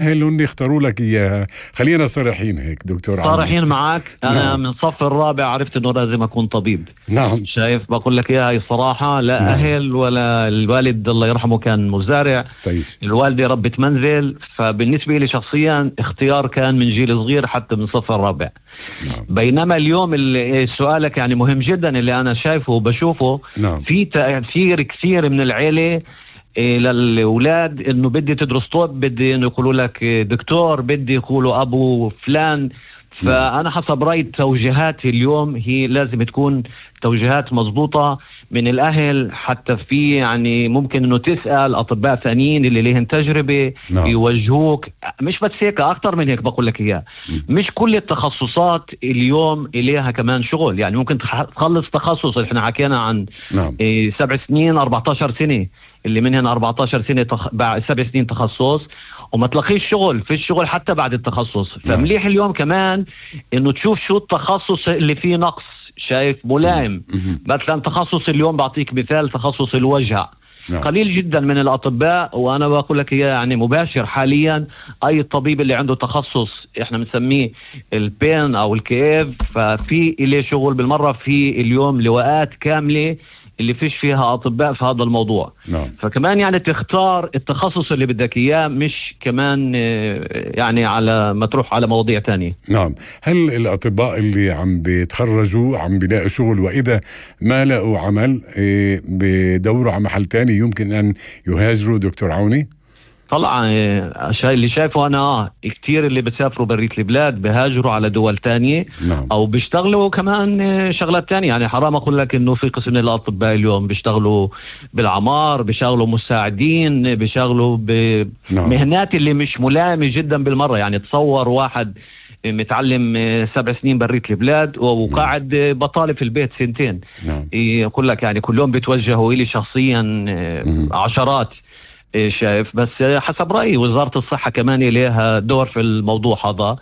اللي اختاروا لك إياها. خلينا صريحين هيك دكتور عمي. صريحين معك. أنا نعم. من صف الرابع عرفت إنه لازم أكون طبيب. نعم. شايف بقول لك إياها هي صراحة. لا نعم. أهل ولا الوالد الله يرحمه كان مزارع. تعيش. الوالدة ربة منزل. فبالنسبة لي شخصيا اختيار كان من جيل صغير حتى من صف الرابع. نعم. بينما اليوم اللي سؤالك يعني مهم جدا اللي أنا شايفه وبشوفه. نعم. في تأثير كثير من العيلة للأولاد إنه بدي تدرس طب، بدي إنه يقولوا لك دكتور، بدي يقولوا أبو فلان. فأنا حسب رأيي التوجيهات اليوم هي لازم تكون توجيهات مضبوطة من الأهل. حتى في يعني ممكن إنه تسأل أطباء ثانيين اللي ليهم تجربة. نعم. يوجهوك مش بس هيك، أكتر من هيك بقول لك إياه. مش كل التخصصات اليوم إليها كمان شغل. يعني ممكن تخلص تخصص. إحنا حكينا عن نعم. 7 سنين 14 سنة اللي منهن 14 سنة بعد 7 سنين تخصص وما تلاقيش شغل. في الشغل حتى بعد التخصص. فمليح اليوم كمان انه تشوف شو التخصص اللي فيه نقص. شايف ملائم. مثلا تخصص اليوم بعطيك مثال تخصص الوجع. نعم. قليل جدا من الأطباء، وأنا بقول لك إياه يعني مباشر حاليا. أي طبيب اللي عنده تخصص إحنا بنسميه البين أو الكيف ففي إليه شغل بالمرة. في اليوم لواءات كاملة اللي فيش فيها أطباء في هذا الموضوع. نعم. فكمان يعني تختار التخصص اللي بدك إياه، مش كمان يعني على ما تروح على مواضيع تانية. نعم. هل الأطباء اللي عم بيتخرجوا عم بيلاقوا شغل، وإذا ما لقوا عمل بدوروا على محل تاني يمكن أن يهاجروا دكتور عوني؟ طلع اللي شايفه أنا كتير اللي بتسافروا بريت البلاد بهاجروا على دول تانية. نعم. أو بيشتغلوا كمان شغلات تانية. يعني حرام أقول لك إنه في قسم من الأطباء اليوم بيشتغلوا بالعمار، بيشتغلوا مساعدين، بيشتغلوا بمهنات اللي مش ملائمة جدا بالمرة. يعني تصور واحد متعلم 7 سنين بريت البلاد وقاعد بطالب في البيت 2 سنين. نعم. يقول لك يعني كلهم بيتوجهوا إلي شخصيا عشرات. شايف. بس حسب رأيي وزارة الصحة كمان لها دور في الموضوع هذا.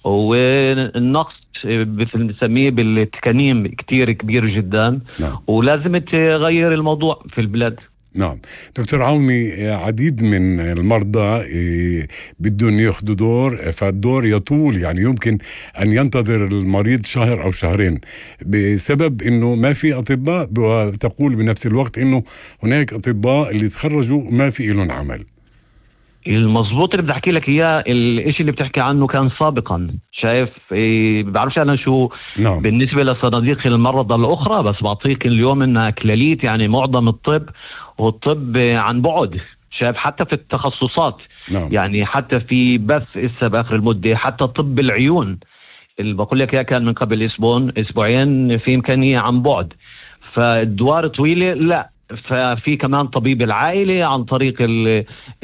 والنقص بنسميه بالتكنيم كتير كبير جدا. نعم. ولازم تغير الموضوع في البلاد. نعم. دكتور عوني، عديد من المرضى بدهم ياخذوا دور، فالدور يطول. يعني يمكن أن ينتظر المريض شهر أو شهرين بسبب أنه ما في أطباء، وتقول بنفس الوقت أنه هناك أطباء اللي تخرجوا ما في لهم عمل. المظبوط اللي بدي احكي لك اياه الاشي اللي بتحكي عنه كان سابقا. شايف بعرفش انا شو. نعم. بالنسبة لصناديق المرضى الاخرى بس بعطيك اليوم انها كلاليت. يعني معظم الطب والطب عن بعد. شايف حتى في التخصصات. نعم. يعني حتى في بث إسا بآخر المدة. حتى طب العيون اللي بقول لك كان من قبل أسبوعين في إمكانية عن بعد. فالدوار طويلة لا. ففي كمان طبيب العائلة عن طريق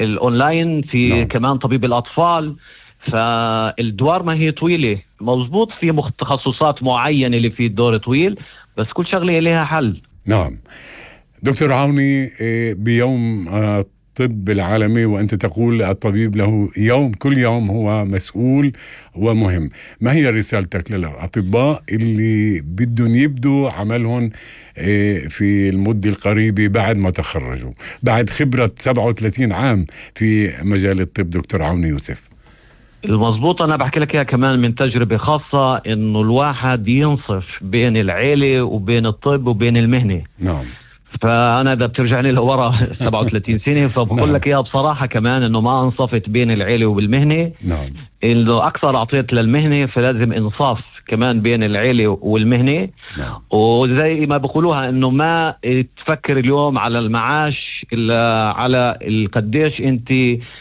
الأونلاين. في نعم. كمان طبيب الأطفال. فالدوار ما هي طويلة مظبوط. في تخصصات معينة اللي في الدور طويل بس كل شغلة لها حل. نعم. دكتور عوني، بيوم الطب العالمي وأنت تقول الطبيب له يوم، كل يوم هو مسؤول ومهم، ما هي رسالتك للأطباء اللي بدهم يبدوا عملهم في المدة القريبة بعد ما تخرجوا، بعد خبرة 37 عام في مجال الطب دكتور عوني يوسف؟ المظبوط أنا بحكي لك إياها كمان من تجربة خاصة إنه الواحد ينصف بين العيلة وبين الطب وبين المهنة. نعم. فأنا إذا بترجعني لورا 37 سنة فبقول لك إياها بصراحة كمان إنه ما انصفت بين العيلة وبالمهنة. نعم. إنه أكثر أعطيت للمهنة فلازم إنصاف كمان بين العيلة والمهنة. نعم. وزي ما بقولوها إنه ما تفكر اليوم على المعاش إلا على قديش أنت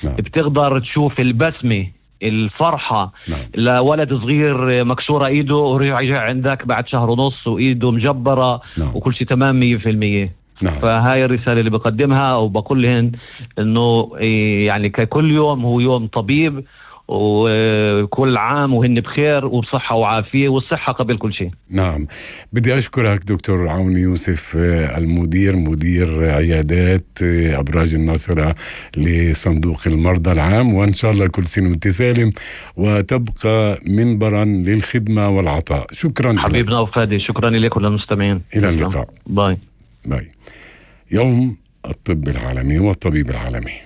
نعم. بتقدر تشوف البسمة الفرحة. نعم. لولد صغير مكسورة ايده ورجع عندك بعد شهر ونص وايده مجبرة. نعم. وكل شيء تمام 100%. نعم. فهاي الرسالة اللي بقدمها وبقول لهن انه يعني كل يوم هو يوم طبيب وكل عام وهن بخير وبصحة وعافية، والصحة قبل كل شيء. نعم. بدي أشكرك دكتور عوني يوسف، مدير عيادات أبراج الناصرة لصندوق المرضى العام، وإن شاء الله كل سنة وانت سالم وتبقى منبرا للخدمة والعطاء. شكرا حبيبنا وفادي. شكرا لك وللمستمعين. إلى اللقاء. باي. يوم الطب العالمي والطبيب العالمي.